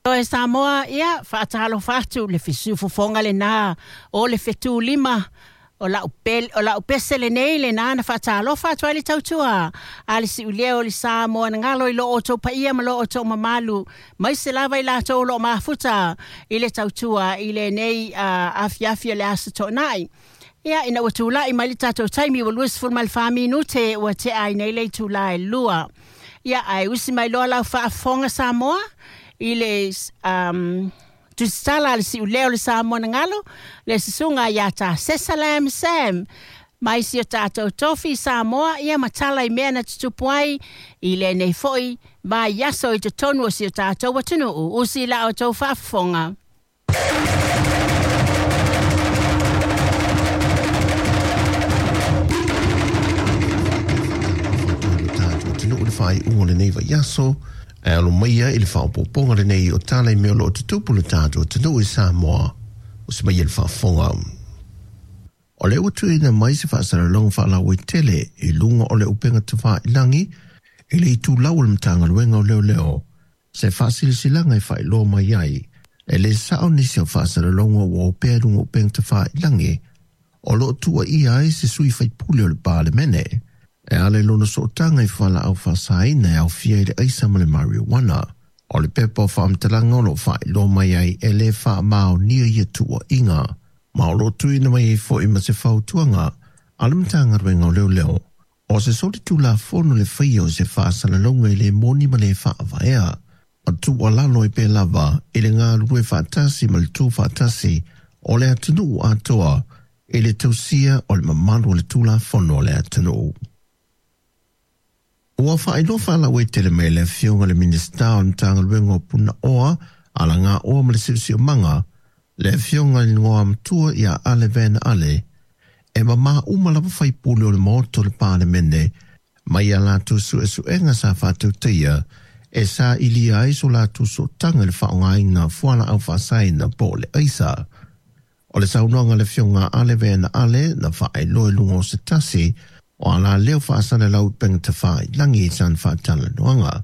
Oe Samoa, ia, faatalofa atu le fesufofoga lenā o le fetulima o lau, o lau pese lenei lenā na faatalofa atu ai le tautua a le siuleo o le Samoa na galo i lo outou paia ma lo outou mamalu mai se lava i latou o lo o mafuta i le tautua i lenei afiafi o le Aso Toonai. Ia, ina ua tulai mai le tatou taimi ua 24 minute ua tea ai nei le itula e 2. Ia, ae usi mai loa lau faafofoga Samoa i le tusitala a le siuleo o le Samoa na galo, le susuga ia Tā Sesalam Sam, mai si o tatou tofi Samoa, ia ma tala i mea na tutupu ai i lenei foi vaiaso i totonu o si o tatou atunuu. Usi la outou faafofoga. Atunuu le faaiuga o lenei vaiaso, ae alo maia i le faaopoopoga lenei o tala i mea o lo o tutupu le tatou atunuu i Samoa. Usi maia le faafofoga. O lea ua tuuina mai se faasalalauga faalauaitele i luga o le upega tafailagi i le itulau o le Matagaluega o Leoleo, se faasilasilaga e faailoa mai ai e le sao nisi o faasalalauga ua opea i luga o upega tafailagi o lo o tuuaia ai se sui faipule o le Palemene e ala i lona sootaga i fualaau faasaina e aofia i le aisa ma le marijuana. O le pepa o faamatalaga o lo o faailoa mai ai e le faamaonia ia tuuaiga, ma o lo o tuuina mai ai foi ma se fautuaga a le Matagaluega o Leoleo o se solitulafono le faia o se faasalalauga e le moni ma le faavaea, ma tuualalo ai pea lava i le galulue faatasi ma le tu faatasi o le atunuu atoa i le tausia o le mamalu o le Tulafono a le atunuu. Ua faailoa faalauaitele mai e le Afioga i le Minisita o le Matagaluega o Punaoa, Alagaoa ma le Siosiomaga, le Afioga i le Igoamatua ia Ale Van Ale, e mamā uma lava faipule o le Maota o le Palemene mai a latou suesuega sa faatautaia e sailia ai so latou sootaga i le faaaogaina o fualaau faasaina po o le aisa. O le saunoaga a le Afioga a Ale Van Ale na faailoa i luga o se tasi o alaleo faasalalau i upega tafailagi i sana faatalanoaga.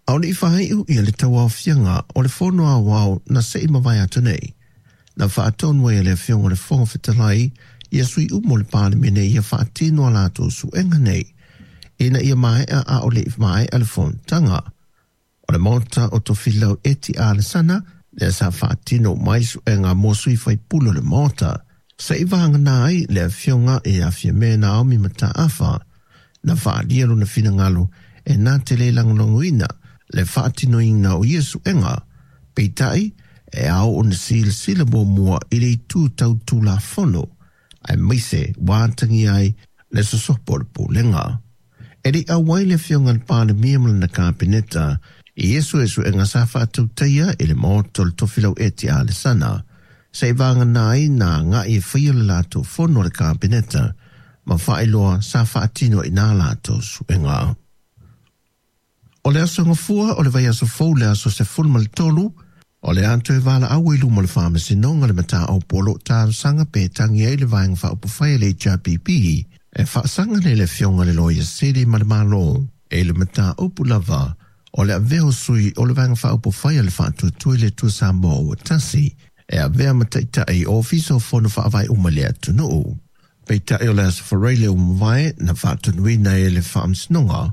A o le i faaiu ia le tauaofiaga o le Fono Aoao na se i mavae atu nei, na faatonu ai e le Afioga i le Fofoga Fetalai ia sui uma o le Palemene ia faatino a latou suega nei ina ia maea a o le i maea le fonotaga o le Maota o Tofilau Eti Alesana, lea sa faatino mai suega mo sui faipule o le Maota, se i vagana ai le Afioga ia Fiame Naomi Mataafa, na faaalia lona finagalo e na te le lagolagoina le faatinoina o ia suega, peitai e ao ona silasila muamua i le itu tau Tulafono, aemaise ua atagia ai le sosopo o le Pulega. E le i auai le Afioga i le Palemia ma lana Kapeneta i ia suesuega sa faatautaia i le Maota o le Tofilau Eti Alesana, se i vagana ai na agai e faia le latou fono a le Kapeneta ma faailoa sa faatino i nā latou suega. O le aso Gafua o le vaiaso fou le aso 13, o le a toe valaau ai luma o le Faamasinoga le mataupu o lo o talosaga pe tagi ai le Vaega Faaupufai a le HRPP e faasaga nei le Afioga i le Loia Sili ma le Malo i le mataupu lava o le avea o sui o le Vaega Faaupufai a le Faatuatua i le Atua Samoa ua Tasi e avea ma taitai o Ofisa o Fono Faavae uma i le atunuu. Peitai o le Aso Faraile ua mavae na faatonuina e le Faamasinoga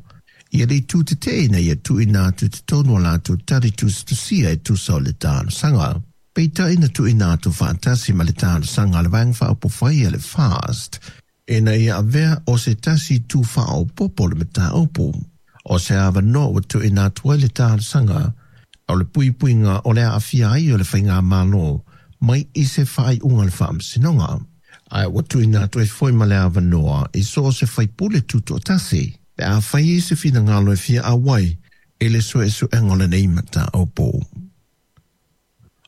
ia le itu tetee ina ia tuuina atu i totonu o latou tali tusitusia e tusa o le talosaga. Peitai na tuuina atu faatasi ma le talosaga a le Vaega Faaupufai a le FAST ina ia avea o se tasi itu faaopoopo o le mataupu. O se avanoa ua tuuina atu ai le talosaga o le puipuiga o le aafia ai o le Faigamalo mai i se faaiuga a le Faamasinoga. Ae ua tuuina atu ai foi ma le avanoa i so o se faipule tutoatasi pe a fai ai se finagalo e fia auai i le suesuega o lenei mataupu.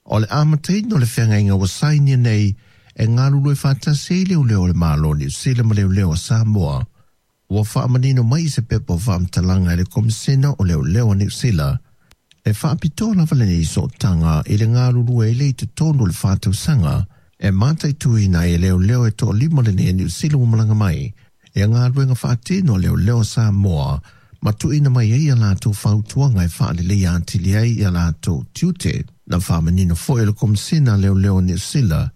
O le amataina o le feagaiga ua sainia nei e galulue faatasi ai leoleo a le Malo o Niu Sila ma leoleo a Samoa, ua faamanino mai i se pepa o faamatalaga e le Komisena o Leoleo a Niu Sila, e faapitoa lava lenei sootaga i le galulue ai lea i totonu o le 4 tausaga e mataituina ai e leoleo e toalima lenei a Niu Sila ua malaga mai ia galuega faatino a leoleo a Samoa Ma tuuina mai ai a latou fautuaga e faaleleia atili ai ia latou tiute. Na faamanino foi e le Komesina Leoleo o Niu Sila,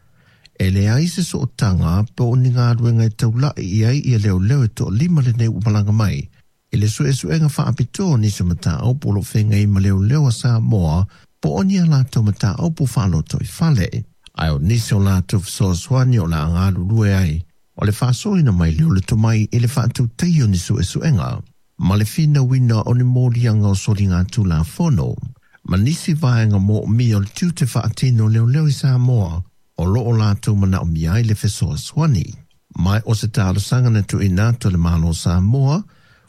e leai se sootaga po o ni galuega e taulai i ai ia leoleo e toalima lenei ua malaga mai i le suesuega faapitoa o nisi o mataupu o lo o feagai ma leoleo a Samoa po o ni a latou mataupu faalotoifale. Ae o nisi o latou fesoasoani o le a galulue ai, o le faasoaina mai lea o le tomai i le faatautaia o ni suesuega ma le finauina o ni moliaga o soligatulafono ma nisi vaega moomia o le tiute faatino o leoleo i Samoa o lo o latou manaomia ai le fesoasoani. Ma o se talosaga na tuuina atu e le Malo o Samoa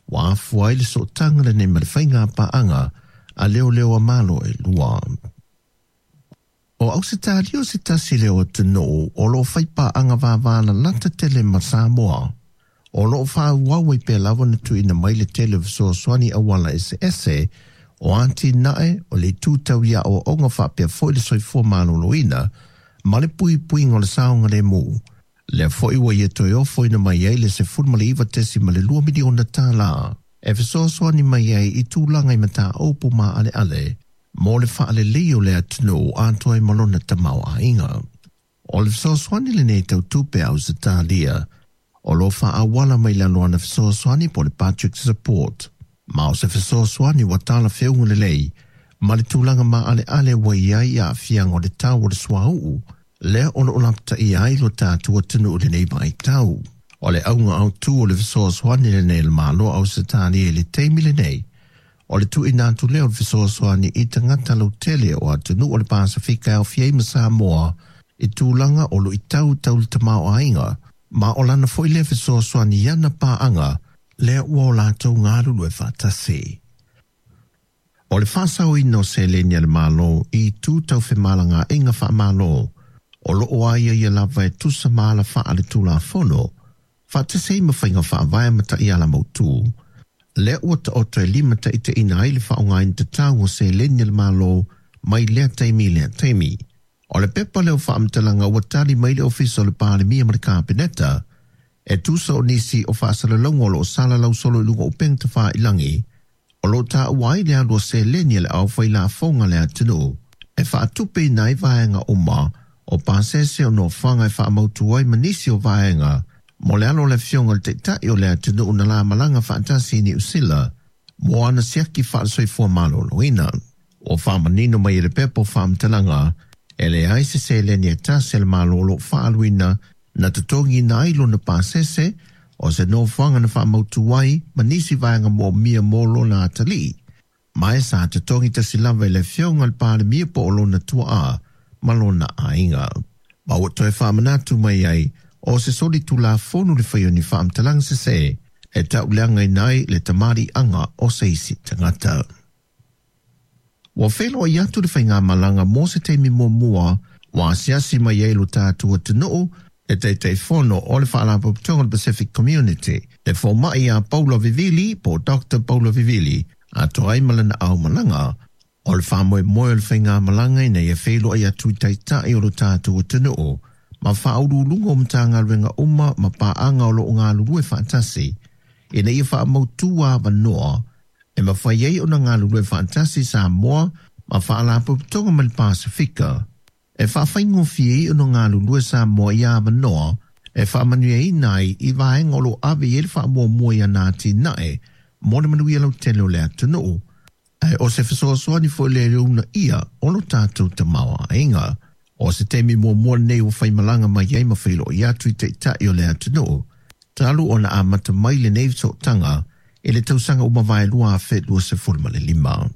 ua afua ai le sootaga lenei ma le faiga paaga a leoleo a Malo e lua. O Ausetalia o se tasi lea o atunuu o lo o fai paaga vavalalata tele ma Samoa. O lo o faaauau ai pea lava ona tuuina mai le tele o fesoasoani auala eseese o atinae o le itu tau i aoaoga faapea foi le soifua maloloina ma le puipuiga o le saogalemu. Lea foi ua ia toe ofoina mai ai le $19.2 miliona tala e fesoasoani mai ai i tulaga i mataupu maaleale mo le faalelei o le atunuu atoa ai ma lona tamaoaiga. O le fesoasoani lenei tau tupe a Ausetalia o lo o faaauala mai lalo o ana fesoasoani po o le budget support. Ma o se fesoasoani ua talafeuga lelei ma le tulaga maaleale ua i ai aafiaga o le tau o le suauu lea o lo o lapataia ai lo tatou atunuu i lenei vaitau. O le auga autu o le fesoasoani lenei a le Malo o Ausetalia i le taimi lenei, o le tuuina atu lea o le fesoasoani i tagata lautele o atunuu o le Pasefika e aofia ai ma Samoa i tulaga o luitau tau le tamaoaiga, ma o lana foi lea fesoasoani i ana paaga lea ua o latou galulue faatasi. O le faasaoina o seleni a le Malo i itu tau femalagaaiga faamalo o lo o aiaia lava e tusa ma alafaa le Tulafono, faatasi ai ma faiga faavae ma taiala mautu, lea ua taoto e limataitaiina ai le faaaogaina tatau o seleni a le Malo mai lea taimi i lea taimi. O le pepa lea o faamatalaga ua tali mai le Ofisa o le Palemia ma le Kapeneta e tusa o nisi o faasalalauga o lo o salalau solo i luga o upega tafailagi o lo o taua ai le alu o seleni a le aufailafoga a le atunuu e faatupeina ai vaega uma o pasese o nofoaga e faamautu ai ma nisi o vaega mo le alo o le Afioga i le Taitai o le atunuu na la malaga faatasi i Niu Sila mo ana siaki faale-soifua maloloina. Ua faamanino mai e le pepa o faamatalaga e leai se seleni e tasi a le Malo o lo o faaaluina na totogiina ai lona pasese o se nofoaga na faamautu ai ma nisi vaega moomia mo lona atalii, ma e sa totogi tasi lava e le Afioga i le Palemia po o lona tuaa ma lona aiga. Ma ua toe faamanatu mai ai o se solitulafono le fai o ni faamatalaga sese e tauleagaina ai le tamaliiaga o se isi tagata. Ua feiloai atu le faigamalaga mo se taimi muamua ua asiasi mai ai lo tatou atunuu le Taitaifono o le Faalapotopotoga o le Pacific Community, le fomai ia Paula Vivili po o Doctor Paula Vivili, atoa ai ma lana aumalaga. O le faamoemoe o le faigamalaga ina ia feiloai atu i taitai o lo tatou atunuu ma faauluuluga o Matagaluega uma ma paaga o lo o galulue faatasi ina ia faamautu avanoa e mafai ai ona galulue faatasi Samoa ma Faalapotopotoga ma le Pasefika e faafaigofie ai ona galulue Samoa i avanoa e faamanuiaina ai i vaega o lo o ave i ai le faamuamua i ana atinae mo le manuia lautele o le atunuu, ae o se fesoasoani foi lea i le uunaia o lo tatou tamaoaiga. O se taimi muamua lenei ua faimalaga mai ai ma feiloai atu i taitai o le atunuu, talu ona amata mai lenei sootaga i le tausaga ua mavae 2025.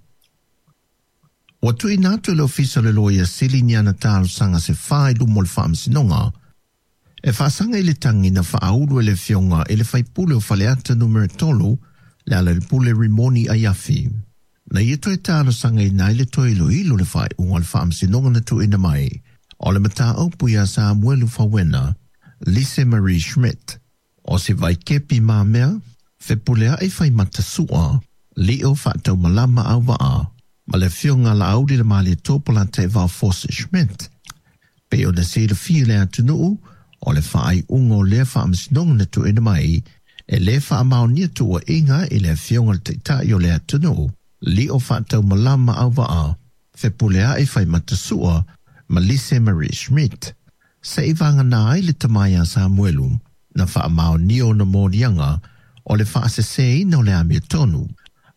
Ua tuuina atu e le Ofisa o le Loia Sili ni ana talosaga se fa i luma o le Faamasinoga e faasaga i le tagi na faaulu e le Afioga i le Faipule o Faleata Numera 3, Lealailepule Rimoni Aiafi. Na ia toe talosagaina ai le toe iloilo le faaiuga o le Faamasinoga na tuuina mai o le mataupu iā Samuelu Fauena Lise Marie Schmidt. O se vaikepi mamea, fepuleai fai matasua, lio faataumalama auvaa, ma le Afioga ia Laauli le Malietoa Polataivao Fosi Schmidt. Pei ona silafia e le atunuu, o le faaiuga o lea faamasinoga na tuuina mai, E lē faamaonia tuuaiga i le Afioga le Taitai o le atunuu lio faataumalama auvaa Fepuleai Faimata-Sua ma Lise Marie Schmidt. Se'i vagana ai le tama ia Samuelu na faamaonia ona moliaga o le faasesēina o le amiotonu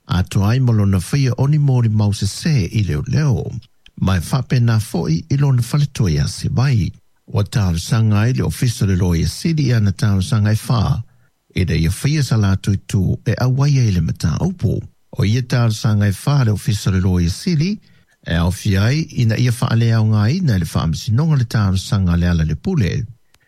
atoa ai ma lona faia o ni molimau sesē i leoleo ma e faapena fo'i i lona faletua ia Sivai. Ua talosaga ai le Ofisa o le Loia Sili i ana talosaga e 4 ina ia faia sa latou itu e auai ai le mataupu. O ia talosaga e 4 le Ofisa o le Loia Sili e aofia ai ina ia faaleaogaina e le Faamasinoga le talosaga a Lealailepule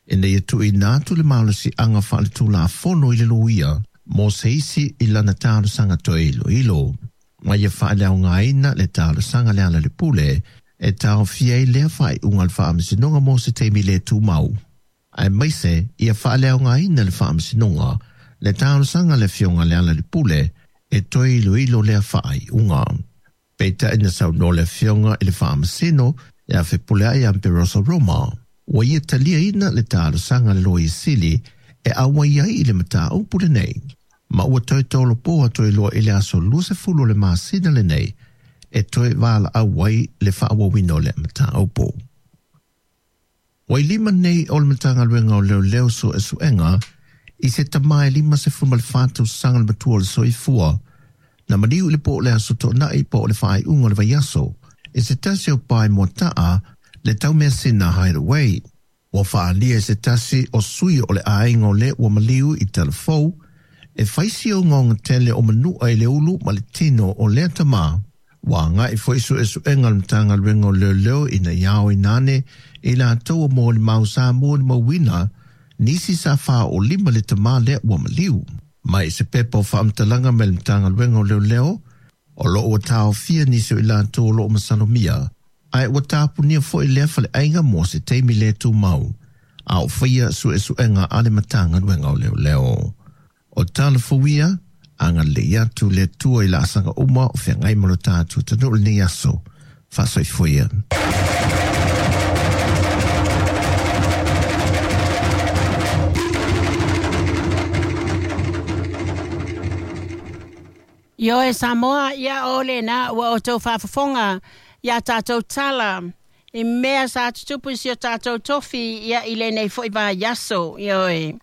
ina ia tuuina atu le malosiaga faaletulafono i le loia mo se isi i lana talosaga toe iloilo. Ma ia faaleaogaina le talosaga a Lealailepule e taofia ai lea faaiuga a le Faamasinoga mo se taimi le tumau. Aemaise ia faaleaogaina le Faamasinoga le talosaga a le Afioga a Lealailepule e toe iloilo lea faaiuga. Peitai na saunoa le Afioga i le Faamasino ia Fepuleai Amperoso Roma. Ua ia taliaina le talosaga a le Loia Sili e auai ai i le mataupu lenei. Ma ua toe tolopo atu ai loa i le aso 20 o le masina lenei e toe valaau ai le faaauauina o le mataupu. Ua i lima nei o le Matagaluega o Leoleo Suesuega i se tama e 54 tausaga le matua o le soifua na maliu i le po o le aso Toonai po o le faaiuga o le vaiaso i se tasi o pae moataa le taumeasina Hideaway. Ua faaalia e se tasi o sui o le aiga o le ua maliu i Talafou e fai si ogaoga tele o manua i le ulu ma le tino o lea tama. Ua agai foi suesuega a le Matagaluega o Leoleo ina ia aoina ane i latou o molimau sa molimauina nisi sa faaolima le tama lea ua maliu. Mai se pepa o faamatalaga mai le Matagaluega o Leoleo, o loo ua taofia nisi o i latou o loo masalomia, ae ua tapunia foi lea faleaiga mo se taimi le tumau, a o faia suesuega a le Matagaluega o Leoleo. O Talafou ia, agalelei atu le Atua i laasaga uma o feagai ma lo tatou atunuu i lenei aso. Faasoifua ia. Ioe Samoa, ia o lena ua outou faafofoga iā tatou tala i mea sa tutupu i si o tatou tofi ia i lenei foi vaiaso. Ioe.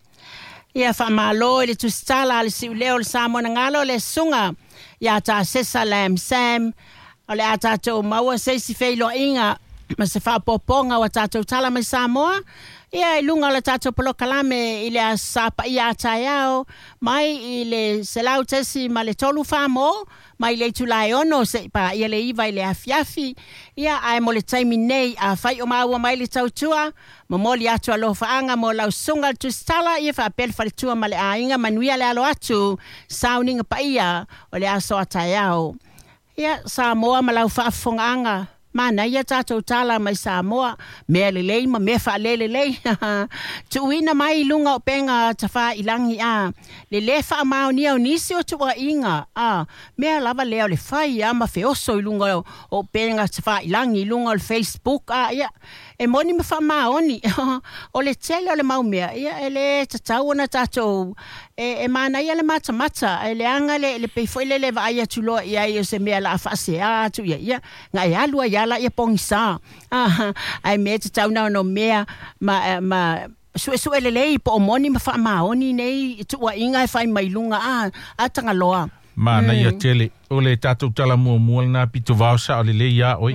Ia faamalo i le tusitala a le siuleo o le Samoa na galo le susuga ia Tasesa Lam Sam, o le a tatou maua se isi feiloaiga ma se faaopoopoga o a tatou tala mai Samoa ia i luga o le tatou polokalame i le Aso Sa paia a taeao mai i le 100.3 Famo mai le itula e 6 se'i paia le 9 i le afiafi. Ia ae mo le taimi nei, afai o maua mai le tautua, momoli atu alofaaga mo lau susuga i le tusitala ia faapea le faletua ma le aiga. Manuia le alo atu sauniga paia o le aso a taeao. Ia Samoa ma lau faafofogaaga, manaia tatou tala mai Samoa, mea lelei ma mea faalelelei. Tuuina mai i luga o upega tafailagi a le lē faamaonia o nisi o tuuaiga a mea lava lea o le fai a ma feoso i luga o upega tafailagi i luga o le Facebook a ia e moni ma faamaoni. O le tele o le mau mea ia e lē tatau ona tatou e manaia le matamata e leaga le pei foi lele vaai atu loa i ai o se mea la faaseā atu ia ia na e alu ai ala ia pogisa ae mea tatau na ono mea ma suesue lelei po o moni ma faamaoni nei tuuaiga e fai mai luga a tagaloa. Manaia tele o le tatou tala muamua lena pito vao sao lelei ia oe.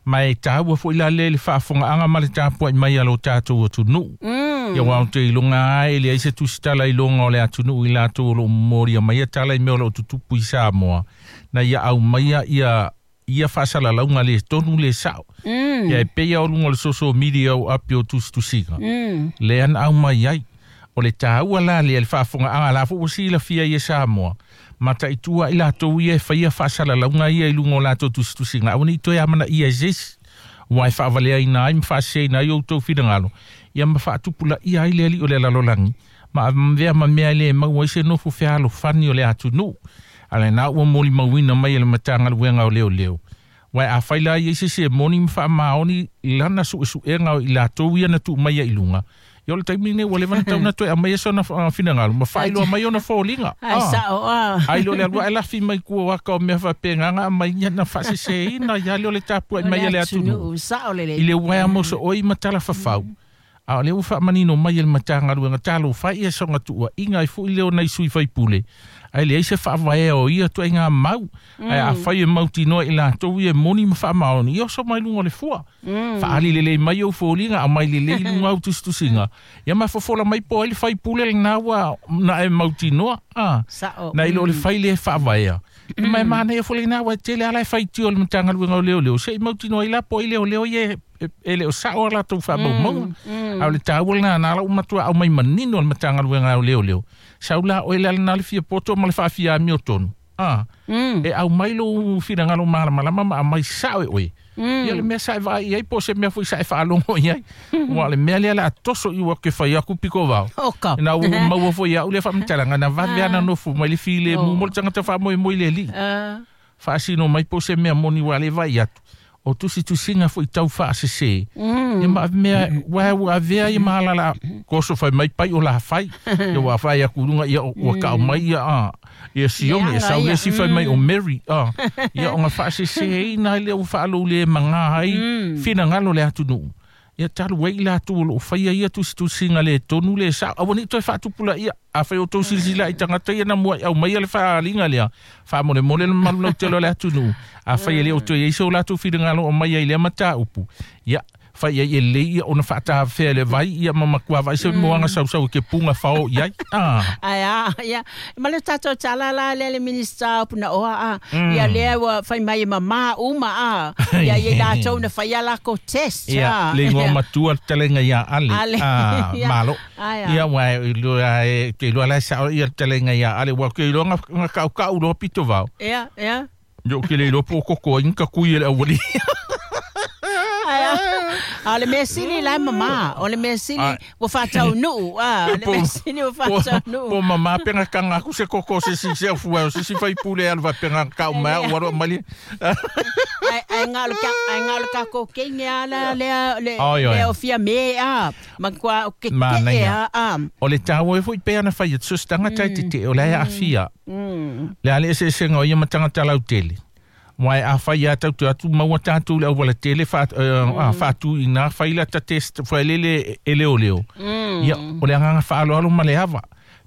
Ma e tāua foi la le le faafogaaga ma le tapua'i mai a lo tatou atunuu. Ia uā ou te iloga ai e leai se tusitala i luga o le atunuu i latou o loo momolia maia tala i mea o loo tutupu i Samoa na ia aumaia ia ia faasalalauga le tonu le sa'o. Ia e pei o luga o le social media o api o tusitusiga lea na aumai ai. O le tāua la lea le faafogaaga la foi ua silafia ia Samoa mataitua i latou ia e faia faasalalauga ia i luga o latou tusitusiga aua nei toe amanaia e se isi ua e faavaleaina ai ma faaseseina ai outou finagalo ia ma faatupulaia ai le alii o le lalolagi ma avea ma mea e lē maua ai se nofo fealofani o le atunuu. A lena ua molimauina mai e le Matagaluega o Leoleo. Uae afai la i ai se isi e moni ma faamaoni lana suesuega o i latou ia na tuu mai ai i luga, Ia o le taimi lenei ua leva ona tau na toe aumaia sona finagalo ma faailoa mai ona foliga. Ai sao a. Ai lo le alua e lafi mai kua waka o mea faapegāga aumai ia na faaseseina ia le o le tapuai mai a le atunuu. Sao lelei. I le uaea mosooi ma talafafau. A o lea ua faamanino mai e le Matagaluega talofa ia soga tuuaiga ai foʻi lea o nai sui faipule ae leai se faavaea o ia tuaiga mau ae afai e mautinoa i latou ia e moni ma faamaoni ia oso mai luga o le fua faali lelei mai ou foliga aumai lelei i luga au tusitusiga ia mafofola mai po ai le faipule lenā ua na e mautinoa a Sao. Na i lo o le fai lea e faavaea ma e manaia foi lenā ua e tele ala e faitio le Matagaluega o Leoleo seʻi mautinoa ai la po ai leoleo ia e le o sao a latou faamaumauga a o le taua lenā na ala ua matua aumai manino le Matagaluega o Leoleo sau la oe le alana le fia poto ma le faafiamio tonu a e aumai lou finagalo malamalama ma aumai sao e oe ia le mea sa e vaai i ai po o se mea foi sa e faalogo i ai ua o le mea lea le a toso i ua ke fai aku piko vao Oka. na ua maua foi au le faamatalaga na vave ana nofo mai le filemu mo le tagata faamoemoe le alii faasino mai po o se mea moni ua le vaai atu o tusitusiga foʻi tau faasesē ia ma mea ua ua avea ia mahalala koso fai mai pai o la fai ia ua fai aku luga ia ua kaʻau mai ia a ia Sione ia sau le isi fai mai o Mary a ia ona faaseseina ai lea ua faalou le magā ai finagalo le atunuu ia talu ai i latou o loo faia ia tusitusiga le tonu le sao aua nei toe faatupulaia afai o tou silasila i tagata ia na muaʻi aumaia le faaaliga lea faamolemole le mamalu lautele o le atunuu afai e le o toe iai so latou finagalo o mai ai lea mataupu ia fai ai e lelei ia ona faatafea le vai ia ma matua vaai se moaga sausau e ke puga fao i ai a Ai a, ia. Ma le tātou tala la lea le minista o puna oa a. Ia lea ua fai mai e mamā uma a. Ia ia lātou na fai a lako test ia a. le igoa matua le talega iā Ale Ale. a Ia. malo Ai a. ia ua iloa e ke iloa la e sao ia le talega iā Ale ua ke iloa nga kaukau loa pito vao Ia, ia. Yo ke le iloa po o koko ai nga kui e le auali Ai a. A o le mea sili la e mamā. O le mea sili Ai. ua faataunuu a. O le mea sili ua faataunuu. Po mamā penga kanga aku se koko se si se fua o se si fai pule alu va penga kau mai ua ro mali Ai ai ngā o le ka ai ngā o le kako keinge a la lea le Oi, oi. lea o fia me a. Ma kua o ke te e Manaia. a a. O le tāua e foi pe ana fai atu se tangata i te te o le aafia. Le ale eseesega o ia ma tagata lautele. Mai a fai ia tau te atu maua tātou le auala tele faatu i nā fai la ta test fai lele e leo leo. Ia, o le anganga whaaloalo ma le ava.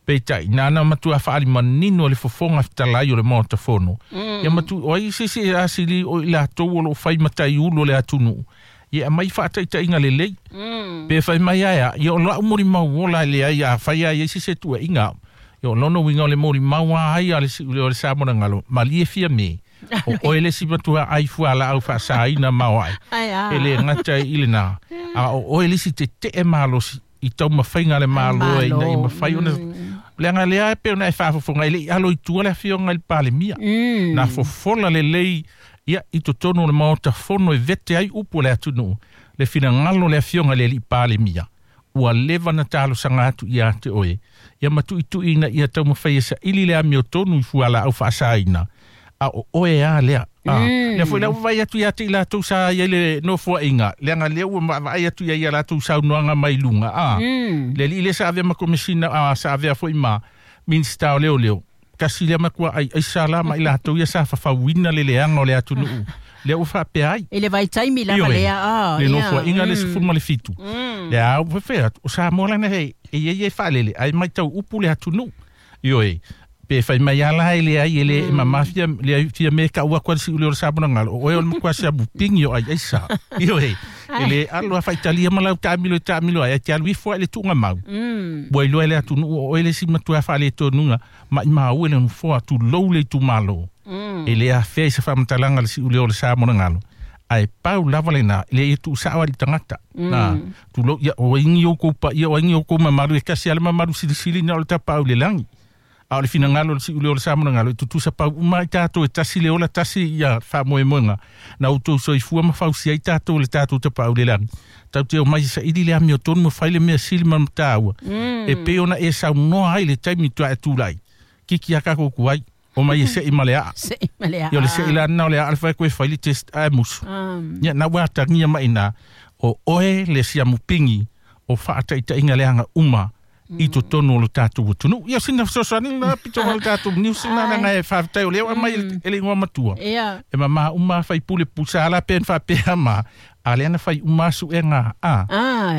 Peitai, nāna matua whaali manino o le fofonga fetalai o le maota fono. Ia matu, o ai se se asili o i latou o lo fai matai ulo le atunuu. Ia mai whaataitaiga lelei. Pe fai mai aia, ia o lau mori mau ola le ai a fai ai se se tua inga. Ia o lono winga o le mori mau a ai a le si o le samona ngalo. Malie fia me. O oe le si matua ai fua la au whaasaina mau ai. Ai a. E le ngata i le nā. A o oe le si te te e malosi i tau mawhainga le malo e ina i mawhai ona. Le anga lea e pe ona e whaafofonga i le i alo i tua le awhionga i le palemia. Nā fofola le lei ia i totonu o le maota fono e vete ai upu o le atunuu. Le finagalo le afioga i le alii palemia. Ua leva na talosaga atu ia te oe. Ia matuʻituʻi ia taumafai e saʻili le amiotonu i fualaau faasaina. A o oe a lea. Lea foi la ua vaai atu ia te i latou sa ai le nofoaʻiga. Leaga lea ua vaavaai atu ia ia latou saunoaga mai luga. Le alii lea sa avea ma komesina a sa avea foi ma minista o leoleo. Kasi lea matua ai ai sa la ma i latou ia sa fafauina le leaga o le atunuu. Lea ua faapea ai. I le vaitaimi lava Ioe. lea a. Le ia. nofoaʻiga le 17. Le a ua fefea atu. O Samoa lana he e ia ia e faalele ai matau upu le atunuu. Ioe. Pe fai mai ala e le ai e le mamafia le fia me ka ua kwa si ule o le Samoa ngalo. O oe o le makua sia bupingi o ai ai sa. Ioe. E le alo a faitalia ma lau taamilo e taamilo ai. E te alu ifo ai le tuuga mau. Ua iloa e le atunuu o oe le isi matua faaletonuga ma i maua e le nofoa tulou le itumalo. E le afea i se faamatalaga le siʻulea o le Samoa galo. Ae pau lava lenā le ia tuusaʻo ai le tagata. Na tulou ia o aiga oukou paia o aiga oukou mamalu e kasi a le mamalu silisili na o le tapaau i le lagi. A o le finagalo o le siʻulea o le Samoa galo e tutusa pau uma ai tatou e tasi le ola tasi ia faamoemoega. Na outou soifua ma fausia ai tatou le tatou tapaau i le lagi. Tau te o mai saʻili le amiotonu ma fai le mea sili ma mataua. E pei ona e saunoa ai le taimi tuaʻe tulai. Kiki a kako kuai. O mai e seʻi ma le aa. Se i ma le a. Ia o le seʻi lana o le aa le fai koe fai le test ae musu. Ia na ua atagia mai nā. O oe le siamupingi o faataitaiga leaga uma i totonu o lo tatou atunuu. Ia sina fesoasoani lena pito vale tatou news lena leaga e faafetai o lea ua aumai e le igoa matua. E mamā uma faipule pusa la pe na faapea ma a lea na fai uma suega a.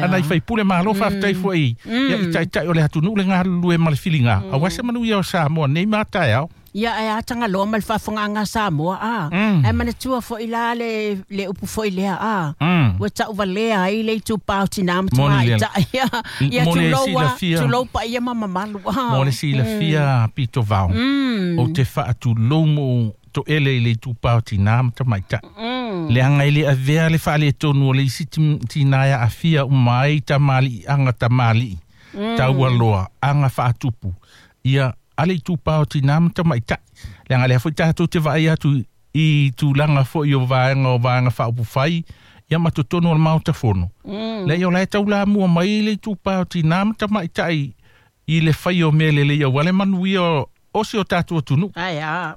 Ana i faipule malo faafetai foi ia i taitai o le atunuu le galulue ma le filiga. Aua se manuia o Samoa nei ma taeao. Ia ae ataga loa ma le faafofogaaga a Samoa a. Ae manatua foʻi la le upu foʻi lea a. Ua taʻuvalea ai le itupā o tinā ma tamaitaʻi ia tulou a tulou paia ma mamalu a. Mo le silafia pito vao. O te faatulou mo toʻele i le itupā o tinā ma tamaitaʻi. Leaga e le avea le faaletonu o le isi tinā e aafia uma ai tamaliiaga tamalii. Taualoa aga faatupu. Ia ale itupā o tinā ma tamaitaʻi. Leaga lea foi tatou te vaai atu i tulaga foʻi o vaega faaupufai ia ma totonu o le maota fono. Lea o lae taulamua mai le itupā o tinā ma tamaitaʻi i le fai o mea lelei aua le manuia o si o tatou atunuu.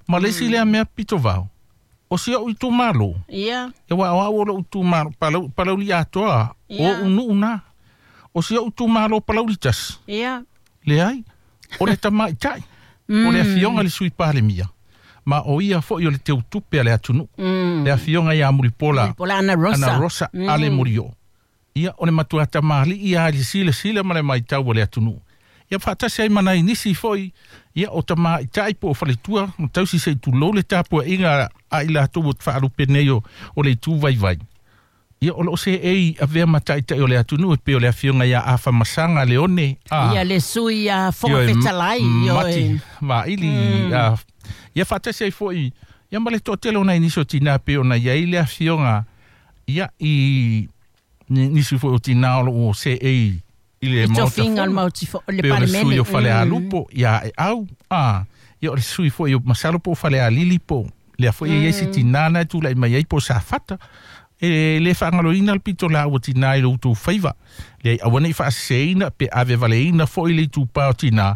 Ma le isi lea mea pito vao. O si o'u itumālō. E ua o a'u o lo'u itumālo Palauli atoa o unu'u na. O si o'u itumālō Palauli tasi. Leai. O le tamaitaʻi. O le afioga le sui palemia. Ma o ia foʻi o le teutupe a le atunuu. Le afioga ia Mulipola. Mulipola Ana Rosa. Ana Rosa ale Murio. Ia o le matua tamalii ia le silasila ma le maitau o le atunuu. Ia faatasi ai ma nai nisi foʻi ia o tamaitaʻi po o faletua ma tausi seʻi tulou le tapuaʻiga a i latou o faalupe nei o le itu vaivai. Ia o loo seʻei avea ma taʻitaʻi o le atunuu e pei o le afioga ia Afamasaga Leone a. Ia le sui a Fofoga Fetalai. Mati Vaili ia faatasi ai foʻi ia ma le toatele o nai nisi o tinā pei ona iai le afioga ia i nisi foi o tinā o loo seʻei i le maota fono. Le pei o le sui o Falealupo ia e au a ia o le sui foi o Masalo po o Falealili po lea foi e iai se tinā na e tulaʻi mai ai po o Safata. E le faagaloina le pito laua tinā i lo outou faiva. Leai aua nei faaseseina pe ave valeina foʻi le itupā o tinā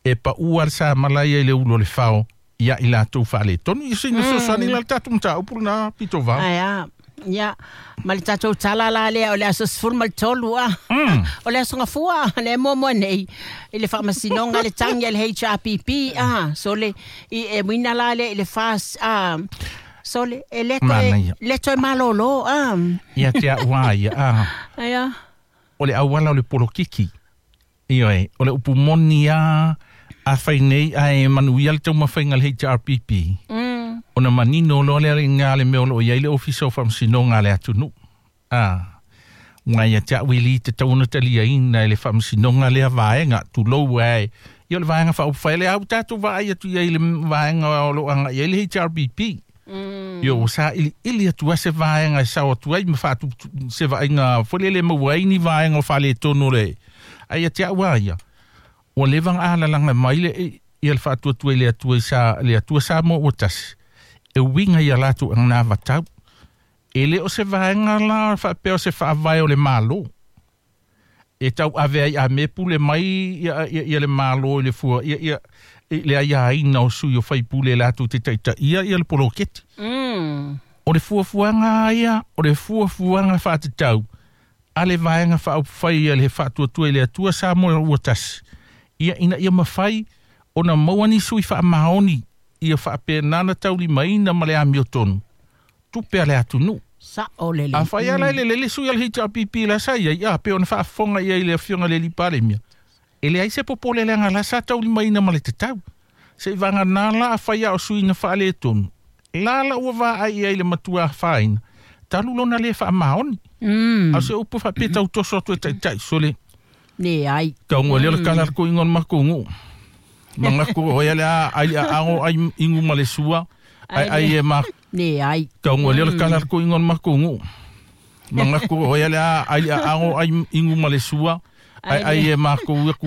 e paʻua le samala ia i le ulu o le fao ia i latou faaletonu. Ia sina fesoasoani la le tatou mataupu lenā pito vao. Ae ia ma le tatou tala la lea o le aso 13 a. O le aso gafua le muamua nei i le faamasinoga le tagi a le HRPP a. So le i e muina la lea i le fas a. So le e le toe malōlō a. Ia te a'u ia a. Ia. O le auala o le polokiki. Ioe, o le upu moni a fai nei ae manuia le taumafaiga le HRPP. Ona manino loa lea iga le mea o loo iai le ofisa o faamasinoga a le atunuu. A. Ua ia te a'u e lī tatau ona taliaina e le faamasinoga lea vaega tulou ae. Ia o le vaega faaupufai le au tatou vaai atu iai le vaega o loo agaʻi ai le HRPP. Io ua saʻiliʻili atu ai se vaega e sao atu ai ma faatu se vaaiga foi lele maua ai ni vaega o faaletonu o le. Ai ia te a'u a ia. Ua leva ga alalaga mai le ia le faatuatua i le Atua sa le Atua Samoa ua tasi. E uiga ia latou aganavatau. E le o se vaega la faapea o se faavae o le mālō. E tau ave ai a me pule mai ia le mālō i le fua ia le aiaina o sui o faipule latou te taitaʻia ia le poloketi. O le fuafuaga ia, o le fuafuaga faatatau a le vaega faaupufai ia le faatuatua i le Atua Samoa ua tasi. Ia ina ia mafai ona maua ni sui faamaoni ia faapena na taulimaina ma le amiotonu. Tupe a le atunuu. Saʻo lelei. Afai ala i le lele sui a le HRPP la sa ia ia pe ona faafofoga ia i le afioga le alii Palemia. E leai se popole leaga la sa taulimaina ma le tatau. Seʻi vaganā la afai a o sui na faaletonu. La la ua vaai ai le matua afaina. Talu lona le faamaoni. A o se upu faapea tautoso atu e taʻitaʻi sole. Leai. Tauga lea o le kala le koʻiga o le makou guʻu. Magaku o ia le a ai aago ai igu ma le sua. Ai ai e ma. Leai. Tauga lea o le kala le koʻiga o le makou guʻu. Magaku o ia le a ai aago ai igu ma le sua. Ai ai e makou